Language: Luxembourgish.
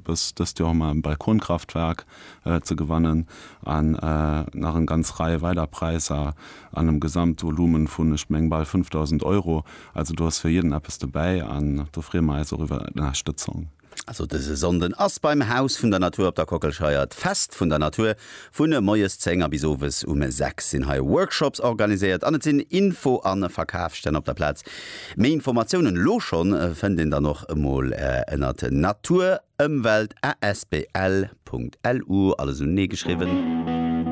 Bis dëst Joer hu mer e Balkonkraftwerk ze gewannen an nach eng ganz Rei weider Präisser an einem Gesamtvolumen vun, ech meng, bal 5.000 Euro. Also do ass fir jidden eppes dobäi an do freeë mer eis och iwwer Ënnerstëtzung. Also dëse Sonnden ass beim Haus vun der Natur op der Kockelscheier d'Fest vun der Natur. Vun moies 10 a bis owes um 6 sinn hei Workshops organiséiert an et sinn Info a Verkafsstänn op der Plaz. Méi Informatiounen elo schonn fënnt een dann och emol ënnert naturëmwelt asbl.lu, alles unenee geschriwwen.